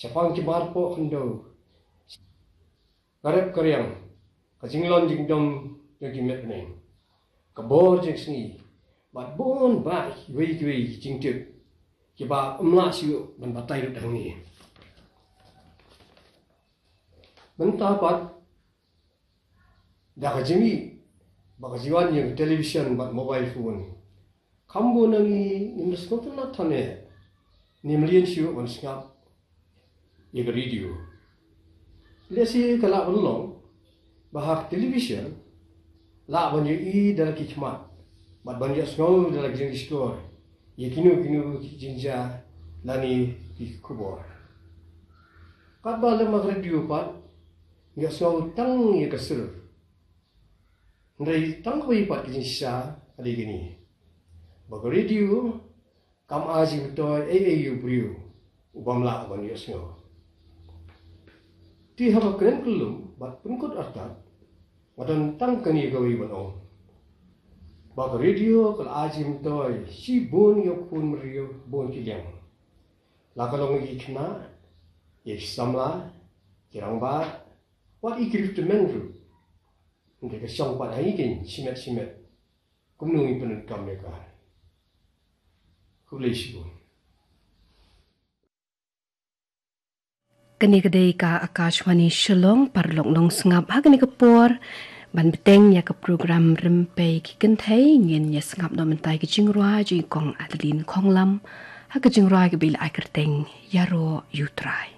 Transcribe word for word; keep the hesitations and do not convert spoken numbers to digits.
shaphang ki marpoh khyndew, ka rep ka riang, ka jinglong jingdom jong ki met bneng, ka bor jingsngi, bad bun bah kiwei kiwei ki jingtip kiba ym lah shuh ban batai lut hangne. Mynta pat, da ka jingmih ba ka jingwan ïa ka television bad mobile phone, kham bun na ngi ngim da sngewtynnat than eh, ngim lyngngoh shuh ban sngap ïa ka radio. Lehse ka lah ban long ba ha ka television lah ban ïohi da la ki khmat bad ban ïohsngew da la ki jingshkor ïa kino kino ki jingjia lane ki khubor. Katba lem ha ka radio pat, ïohsngew tang ïa ka sur. Hynrei tang kawei pat ka jingshisha ka dei kane, ba ka radio kam ai jingmyntoi ei ei ïa u briew u bym lah ban ïohsngew. Te haba kren kyllum bad pynkut artat, nga don tang kane kawei ban ong, ba ka radio ka la ai jingmyntoi shibun ïa u khun briew bun ki liang. La ka long ïa ki khynnah, ïa ki samla, ki rangbah, wat ïa ki riewtymmen ruh. Hynrei ka shong pat ha ngi keiñ shimet shimet kumno ngin pyndonkam ïa ka. Khublei shibun. Kane ka dei ka Akashvani Shillong, paralok nongsngap, ha kane ka por ban bteng ïa ka program Rympei ki Kynthei, ngin ïa sngap noh mynta ïa ka jingrwai jong i Kong Adeline Khonglam, ha ka jingrwai kaba i la ai kyrteng Ïaroh ïa u Trai.